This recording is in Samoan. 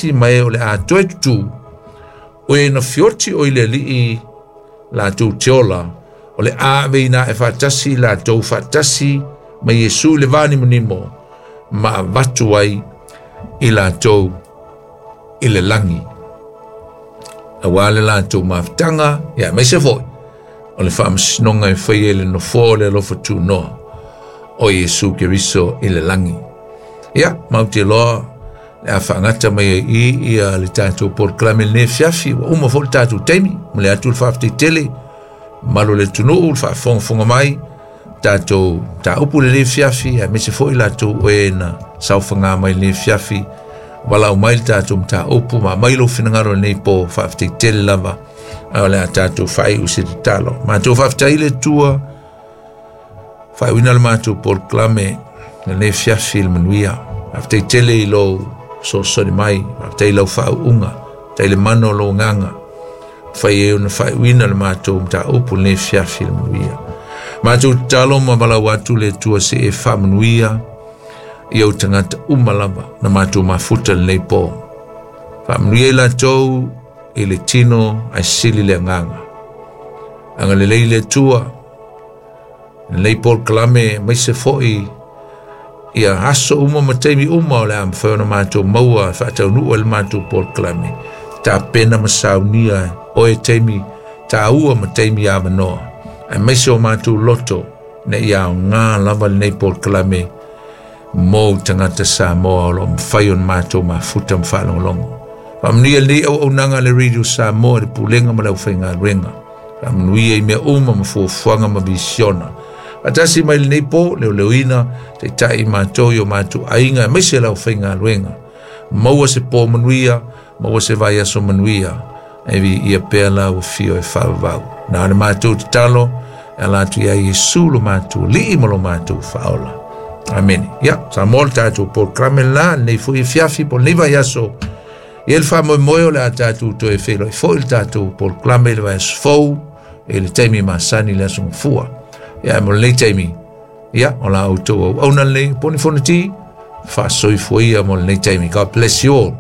faatasi ma e o le a toe tutū, o e na fioti o i le alii latou te ola, o le a aveina ae faatasi i latou faatasi ma Iesu i le vanimonimo ma avatu ai i latou i le lagi. Auā le latou mafutaga, ia aemaise foi o le faamasinoga e faia i le nofoa o le alofa tunoa o Iesu Keriso i le lagi. Ia, matou te iloa le a faagata mai ai i ia le tatou polokalame lenei afiafi, ua uma foi le tatou taimi. Momoli atu le faafetai tele mamalu o le atunuu le faafogafoga mai tatou mataupu lenei afiafi, aemaise foi latou o e na saofaga mai lenei afiafi, valaau mai le tatou mataupu ma aumai lou finagalo lenei po. Faafetai tele lava, a o le a tatou faaiu se tatalo. Matou faafetai i le Atua faaiuina le matou polokalame lenei afiafi i le manuia. Faafetai tele i lou fesoasoani mai, faafetai i lau faauuga, faafetai i le mana o lou agaga fai ai ona faaiuina le matou mataupu lenei afiafi i le manuia. Matou tatalo ma valaau atu le Atua se e faamanuia i ou tagata uma lava na matou mafuta lenei po. Faamanuia i latou i le tino ae sili le agaga. Agalelei le Atua lenei polokalame aemaise foi ia aso uma ma taimi uma o le a mafai ona matou maua e faataunuu ai le matou polokalame. Tapena ma saunia oe taimi tāua ma taimi avanoa, aemaise o matou loto ina ia aoga lava lenei polokalame mo tagata Samoa o lo o mafai ona matou mafuta ma faalogologo. Faamanuia lenei auaunaga a le Radio Samoa i le pulega ma le aufaigaluega. Faamanuia i mea uma ma fuafuaga ma visiona. Faatasi mai lenei po, leoleoina, taitai i matou i o matou aiga, aemaise le aufaigaluega. Maua se pō manuia, maua se vaiaso manuia, e viia pea lau afio e faavavau. Na o le matou tatalo, e ala atu ia Iesu lo matou Alii ma lo matou Faaola. Amene. Ia, Samoa le tatou polokalame lena, lenei foi afiafi po o lenei vaiaso. Ia le faamoemoe o le a tatou toe feiloai foi le tatou polokalame i le vaiaso fou, i le taimi masani i le aso Gafua. Ia, mo lenei taimi, ia, o la outou auauna lenei, Poni Fonoti, faasoifua ia mo lenei taimi. God bless you all.